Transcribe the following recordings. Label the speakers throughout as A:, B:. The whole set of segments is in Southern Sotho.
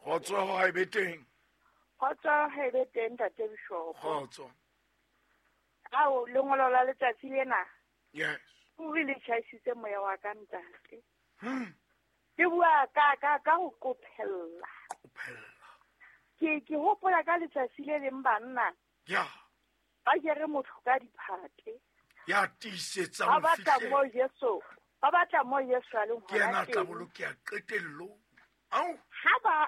A: Kgotso ha e be teng.
B: Kgotso ha e be teng, Ntate Bishop.
A: Kgotso.
B: Ao, lengolo la letsatsi lena.
A: Yes.
B: Ruri le tjhaisitse moya wa ka, ntate. Ke bua ka ho qophella.
A: Qophella.
B: Ke hopola ka letsatsi le leng banna.
A: Ya.
B: Ba jere motho ka diphate.
A: Ya tiisetsa
B: Ba batla mo Jesu. Ba batla mo Jesu a leng
A: Ke yena
B: hona
A: a tla
B: teng.
A: bolokeha qetellong. Au.
B: Ha ba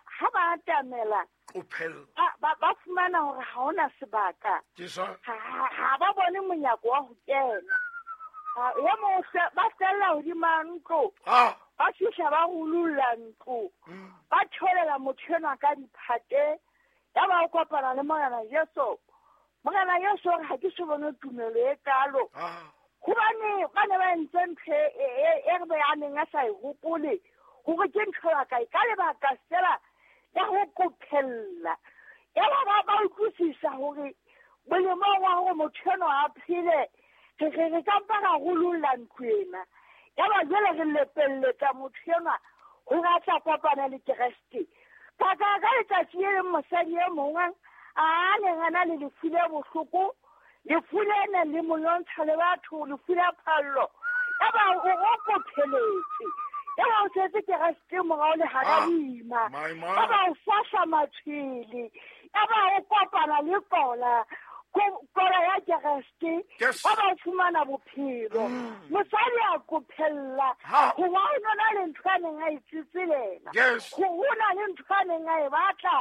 B: atamela,
A: Qophella.
B: ba fumana hore ha hona sebaka.
A: Jesu.
B: Ha ba bone monyako wa ho kena. Ya mo ba fella hodima ntlo. Ba fihla ba rulolla ntlo. Ba theolela motho enwa ka diphate. Ya ba o kopana le Morena Jesu. Morena Jesu o re ha ke so bone tumelo e kalo. Hobane ba ne ba entse ntho e re a neng a sa e hopole hore ke ntho ya kae, ka lebaka fela ya ho qophella. Ya ba utlwisisa hore molemong wa hore motho enwa a phele, re ka mpa ra rulolla ntlo ena. Ya ba jwale re lepelletsa motho enwa hore a tla kopana le Kreste. Ka letsatsi le leng mosadi e mongwe a neng a na le lefu le bohloko, lefu le neng le mo lwantsha le batho, lefu la phallo. Ya ba o qopheletse. Ya ba o setse Kreste morao le hara boima. Ya ba o fahla matshwele. Ya ba o kopana le kola. Kola ya Kreste. Ya ba o fumana bophelo. Mosadi a qophella. Hoba o nona le ntho a neng a e tsetselela. Ho na le ntho a neng a e batla.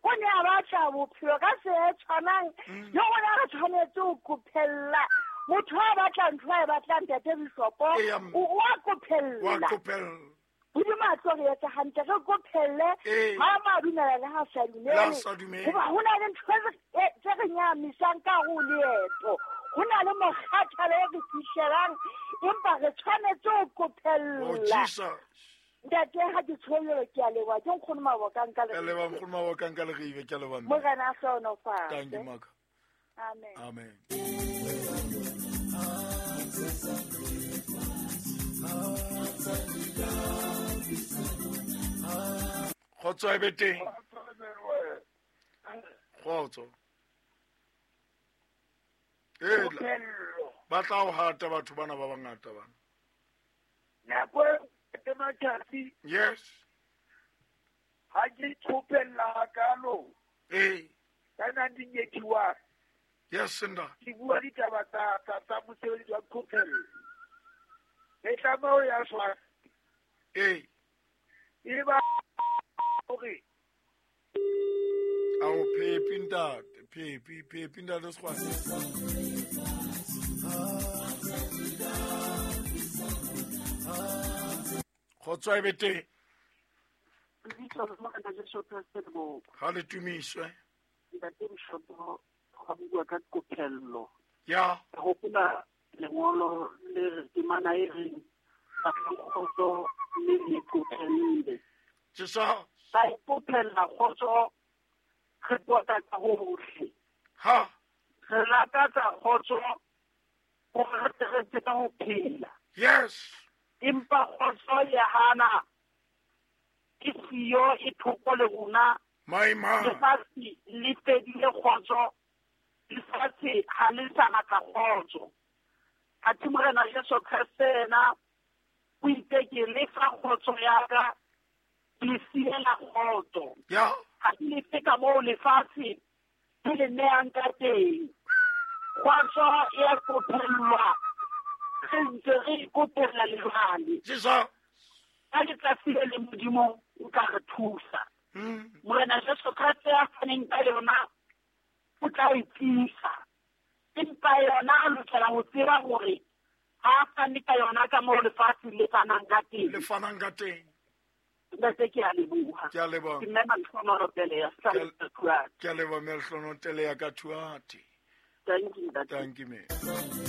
B: O ne a batla bophelo ka se e tshwanang. Le rona re tshwanetse ho qophella. Motho a batla ntho a e batlang, Ntate Bishopo, o a qophella.
A: Wa qophella.
B: Modimo a tlo re etsa hantle, re qophelle. Ha a dumela le ha sa dumele. Hoba ho na le ntho tse re nyahamisang ka hare ho leeto. Ho na le mokgathala o re fihlelang, empa re tshwanetse ho qophella.
A: Oh, Jesus.
B: Ntate, ha ke tshollelo, ke a leboha. Ke nkgono Mabokang ka
A: Ke a leboha, nkgono Mabokang ka Leribe, ke a leboha, mme.
B: Morena a hlohonolofatse.
A: Thank you, Maka.
B: Amen.
A: Amen. Kgotso e be teng. Kgotso. Ba tla o hata batho bana ba bangata bana.
C: Nako e matsatsi.
A: Yes.
C: Ha ke qopella hakalo. Ka 1981.
A: Yes, Senda.
C: Ke bua ditaba tsa mosebetsi wa qophello. Re tlameha ho ya Swazi. E ba hore
A: Ao phepi ntate, phepi ntate Sekgwane. Kgotso e be teng. Ha le tumiswe.
D: Ntate Bishopo, ga bua ka qophello.
A: Ya.
D: Ke hopola lengolo le re temana e reng batlang kgotso le le qophelle.
A: Jesu.
D: Ba ipophella kgotso re pota ka hohle.
A: Ha.
D: Re lakatsa kgotso hore re tle re tsebe ho phela.
A: Yes.
D: Empa kgotso ya hana ke siyo e thoko le rona.
A: My man.
D: Lefatshe le fedile kgotso. Lefatshe ha le sa batla kgotso. Athe Morena Jesu Kreste yena o itse ke lefa kgotso ya ka, ke siela kgotso.
A: Ya.
D: Ha ke lefe ka moo lefatshe le le nehang ka teng. Kgotso e a qophellwa. Re ntse re ikopela le jwale.
A: Jesu.
D: Ka letsatsi le le Modimo o tla re thusa. Morena Jesu Kreste a faneng ka yona o tla e tlisa. Empa yona a lokela ho tseba hore ha a fane ka yona ka moo lefatshe le fanang ka teng.
A: Le fanang ka teng.
D: Ntate, ke a leboha.
A: Ke a leboha.
D: Ke mme Malehlohonolo Pele ya Sa-
A: Ke a leboha, mme Malehlohonolo Pele ya ka Thuate.
D: Thank you, ntate.
A: Thank you, mme.